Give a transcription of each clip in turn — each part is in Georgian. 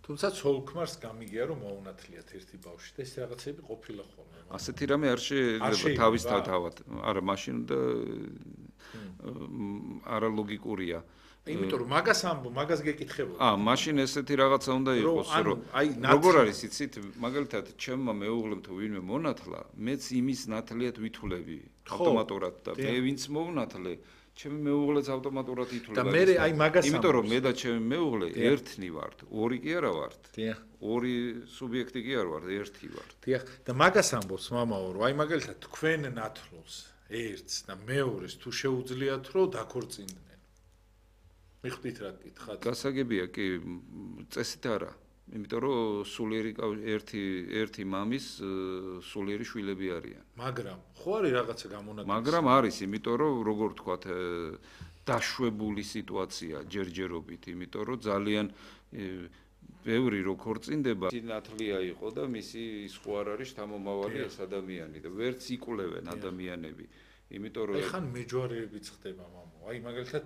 თუმცა ცოლ-ქმარს გამიგია რომ მოუნათლიათ ერთი ბავშვი და ეს რაღაცები ყოფილა ხოლმე. ასეთი რამე არ შეიძლება თავის თავად. არა, მაშინ და არა ლოგიკურია. იმიტომ რომ მაგას გეკითხებოდა. მაშინ ესეთი რაღაცა უნდა იყოს, რომ როგორ არის იცით, მაგალითად, ჩემმა მეუღლემ თუ ვინმე მონათლა, მეც იმის ნათლიათ ვითვლები ავტომატურად და მე ვინც მოუნათლე, ჩემი მეუღლეც ავტომატურად ითვლება. და მე აი მაგას იმიტომ რომ მე და ჩემი მეუღლე ერთნი ვართ, ორი კი არა ვართ. ორი სუბიექტი კი არ ვართ, ერთი ვართ. დიახ, და მაგას ამბობს მამაო, რომ აი მაგალითად თქვენ ნათლულს ერთს და მეორეს თუ შეუძლიათ რომ დაქორწინდნენ. მიხვდით რა გითხათ? გასაგებია კი, წესით არა. იმიტომ რომ სულიერი ერთი მამის სულიერი შვილები არიან. მაგრამ ხო არის რაღაცა გამონაკლისი. მაგრამ არის, იმიტომ რომ როგორ თქვათ, დაშვებული სიტუაცია ჯერჯერობით, იმიტომ რომ ძალიან ბევრი რო ქორწინდება, ნათლია იყო და მისი ის ხო არ არის შთამომავალი ეს ადამიანი და ვერც იკვლევენ ადამიანები. იმიტომ რომ ეხან მეჯვარეებიც ხდება მამო. აი მაგალითად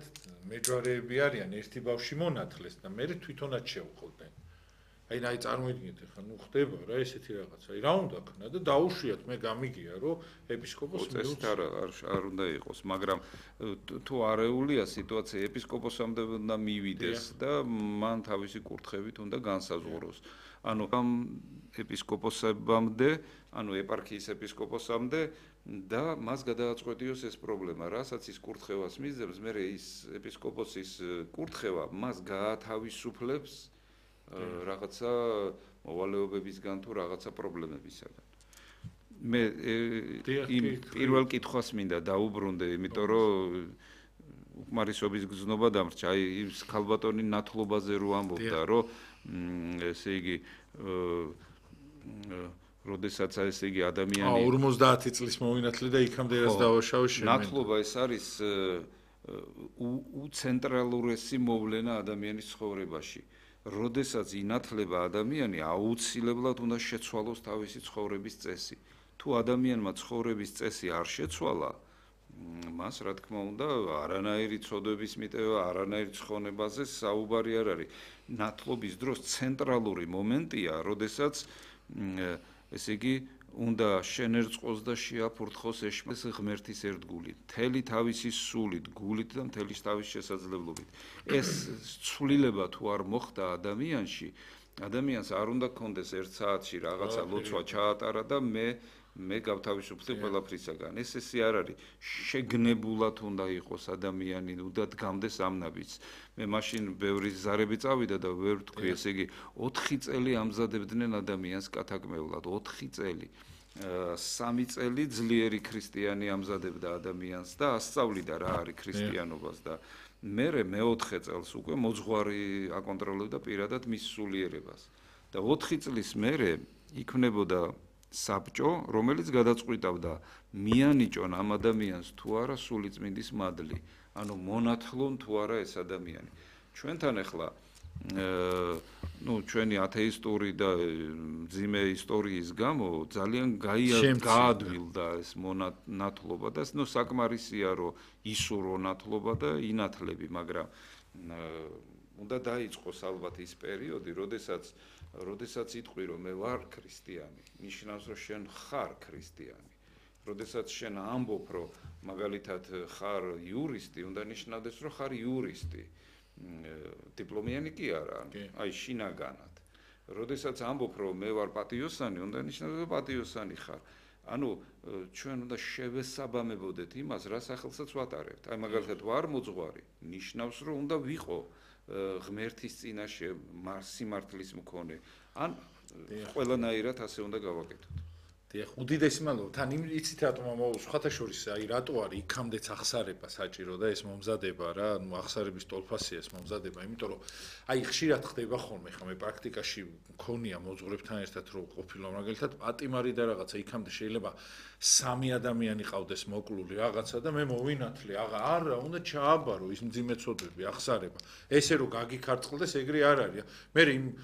მეჯვარეები არიან ერთი ბავშვი მონათლეს და მე თვითონაც შევხლდნენ. აი წარმოიდგინეთ ახლა ხდება რა ესეთი რაღაცა. აი რა უნდა ქნა და დაუშვიათ მე გამიგია რომ ეპისკოპოსი წესით არ უნდა იყოს, მაგრამ თუ არეულია სიტუაცია ეპისკოპოსამდე უნდა მივიდეს და მან თავისი კურთხევით უნდა განსაზღვროს. ანუ ამ ეპისკოპოსებამდე, ანუ ეპარქიის ეპისკოპოსამდე და მას გადააწყვეტიოს ეს პრობლემა, რასაც ის კურთხევას მისდევს, მე ის ეპისკოპოსის კურთხევა მას გაათავისუფლებს რაღაცა მოვალეობებისგან თუ რაღაცა პრობლემებისგან. მე იმ პირველ კითხვას მინდა დაუბრუნდე, იმიტომ რომ უკმარისობის გზნობა დამრჩა, აი ის ქალბატონი ნათლობაზე რო ამბობდა, რომ ესე იგი როდესაც ესე იგი ადამიანი 50 წლის მოვინათლე და იქამდე რაც დავაშავე შემენ. ნათლობა ეს არის უცენტრალურესი მოვლენა ადამიანის ცხოვრებაში. როდესაც ინათლება ადამიანი, აუცილებლად უნდა შეცვალოს თავისი ცხოვრების წესი. თუ ადამიანმა ცხოვრების წესი არ შეცვალა, მას რა თქმა უნდა არანაირი ცოდვების მიტევა, არანაირი ცხონებაზე საუბარი არ არის. ნათლობის დროს ცენტრალური მომენტია, როდესაც ესე იგი უნდა შენერწყოს და შეაფურთხოს ეს ღმერთის ერთგული, მთელი თავისი სულით, გულით და მთელი თავის შესაძლებლობით. ეს ცვლილება თუ არ მოხდა ადამიანში, ადამიანს არ უნდა გქონდეს 1 საათში რაღაცა ლოცვა ჩაატარა და მე გავთავისუფლდი ყველაფრისაგან. ესე არ არის. შეგნებულად უნდა იყოს ადამიანი, უნდა დგამდეს ამ ნაბიჯს. მე მაშინ ბევრი ზარები წავიდა და ვერ თქვი, ესე იგი 4 წელი ამზადებდნენ ადამიანს კათაკმეულად, 4 წელი. 3 წელი ძლიერი ქრისტიანი ამზადებდა ადამიანს და ასწავლიდა რა არის ქრისტიანობას და მე 4 წელს უკვე მოძღვარი აკონტროლებდა პირადად მის სულიერებას. და 4 წლის მერე იქნებოდა საბჭო, რომელიც გადაწყვიტავდა მიანიჭონ ამ ადამიანს თუ არა სულიწმინდის მადლი, ანუ მონათლონ თუ არა ეს ადამიანი. ჩვენთან ახლა ჩვენი ათეისტური და მძიმე ისტორიის გამო ძალიან გაადვილდა ეს მონათლობა და საკმარისია რომ ისურო ნათლობა და ინათლები, მაგრამ უნდა დაიწყოს ალბათ ის პერიოდი, როდესაც იტყვი რომ მე ვარ ქრისტიანი, ნიშნავს რომ შენ ხარ ქრისტიანი. როდესაც შენ ამბობ რომ მაგალითად ხარ იურისტი, უნდა ნიშნავდეს რომ ხარ იურისტი. დიპლომიანი კი არა, აი შინაგანად. როდესაც ამბობ რომ მე ვარ პატიოსანი, უნდა ნიშნავდეს რომ პატიოსანი ხარ. ანუ ჩვენ უნდა შევესაბამებოდეთ იმას, რა სახელსაც ვატარებთ. აი მაგალითად ვარ მოძღვარი, ნიშნავს რომ უნდა ვიყო ღმერთის წინაშე სიმართლის მქონე. ან ყველანაირად ასე უნდა გავაკეთოთ. დიახ, უდიდესი მადლობა. თან იცით რატომ ამავალ სხვათა შორის აი რატო არის იქამდეც აღსარება საჭირო და ეს მომზადება რა, ნუ აღსარების ტოლფასია ეს მომზადება, იმიტომ რომ აი ხშირად ხდება ხოლმე, ხა მე პრაქტიკაში მქონია მოძღვრებთან ერთად რომ ყოფილა მაგალითად პატიმარი და რაღაცა იქამდე შეიძლება 3 ადამიანი ყავდეს მოკლული რაღაცა და მე მოვინათლე, არა, უნდა ჩააბარო ის მძიმე ცოდვები, აღსარება. ესე რომ გაგიქარწყლდეს ეგრე არ არის. მე